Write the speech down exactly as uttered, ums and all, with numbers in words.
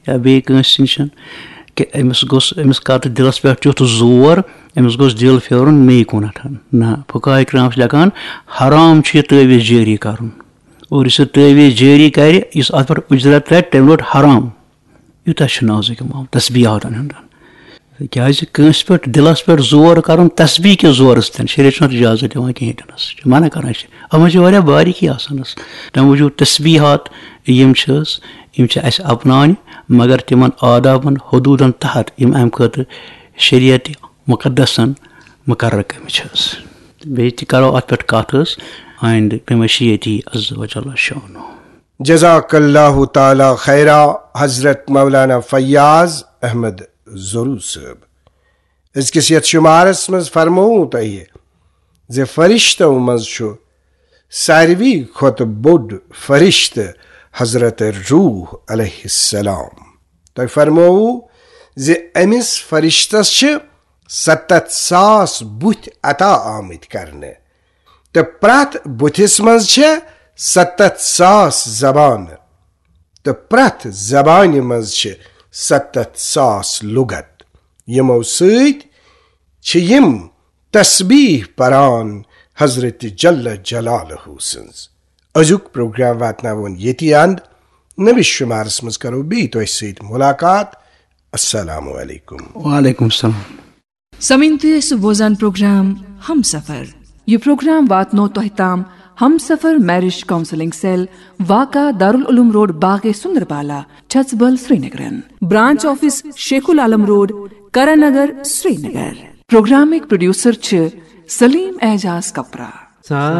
یا بیٚیہِ کٲنٛسہِ نِش، کہِ أمِس گوٚژھ، أمِس کَتھ دِلَس پٮ۪ٹھ تیُتھ زور، أمِس گوٚژھ دِل پھیرُن مے کُنَتھ۔ نہ، فقہاء کرام چھِ لیکھان، حرام چھُ یہِ تعویٖذ جٲری کَرُن۔ اور یُس یہِ تعویٖذ جٲری کَرِ، یُس اَتھ پٮ۪ٹھ اُجرت رَٹہِ، تٔمۍ روٚٹ حرام۔ یوٗتاہ چھُ نازُک معاملہٕ تسبیٖحاتَن ہُنٛد۔ کیٛازِ کٲنٛسہِ پٮ۪ٹھ، دِلَس پٮ۪ٹھ زور کَرُن تسبیٖح کِس زورَس تہِ، شریعت چھُنہٕ اَتھ اِجازت دِوان کِہیٖنۍ تہِ نَس، چھُ منع کَران۔ اَسہِ چھِ، اَتھ منٛز چھِ واریاہ باریٖکی آسان حظ۔ تَمہِ موٗجوٗب تسبیٖحات یِم چھِ حظ، یِم چھِ اَسہِ اَپناونہِ، مگر تِمَن آدابَن، حدوٗدَن تحت، یِم اَمہِ خٲطرٕ شریعت مُقدسَن مُقرر کٔرمٕتۍ چھِ حظ۔ بیٚیہِ تہِ کَرو اَتھ پٮ۪ٹھ کَتھ حظ آیِندٕ بمشیئتی عز و جل شانہ۔ جزاک اللہ تعالی خیرا حضرت مولانا فیاض احمد زرو صٲب۔ أزکِس یَتھ شُمارَس منٛز فرمووُ تۄہہِ زِ فرشتو منٛز چھُ ساروی کھۄتہٕ بوٚڑ فرشتہٕ حضرت روح علیہ السلام۔ تۄہہِ فرمووُ زِ أمِس فرشتس چھِ ستتھ ساس بُتھۍ عطا آمٕتۍ کرنہٕ، تہٕ پرٛٮ۪تھ بُتھِس منٛز چھےٚ ستتھ ساس زبانہٕ، تہٕ پرٛٮ۪تھ زبانہِ منٛز چھِ ستتھ ساس لُغت۔ یِمو سۭتۍ چھِ یِم تسبیح پران حضرت جل جلالہ سٕنٛز۔ أزیُک پروگرام واتناوون ییٚتی اند۔ نٔوِس شُمارس منٛز کرو بیٚیہِ تۄہہِ سۭتۍ مُلاقات۔ السلام علیکم۔ وعلیکم السلام۔ سمعین، تُہۍ ٲسِو بوزان پروگرام ہم سفر۔ یہِ پروگرام واتنو تۄہہِ تام ہم سفر میرج کاؤنسلنگ سیل، واقع دارالعلوم روڈ، باغ سندربالا، چھژبل، سرینگرن۔ برانچ آفس شیخ العالم روڈ، کرن نگر، سرینگر۔ پروگرامٕکۍ پروڈیوسر چھِ سلیم اعجاز کپرا۔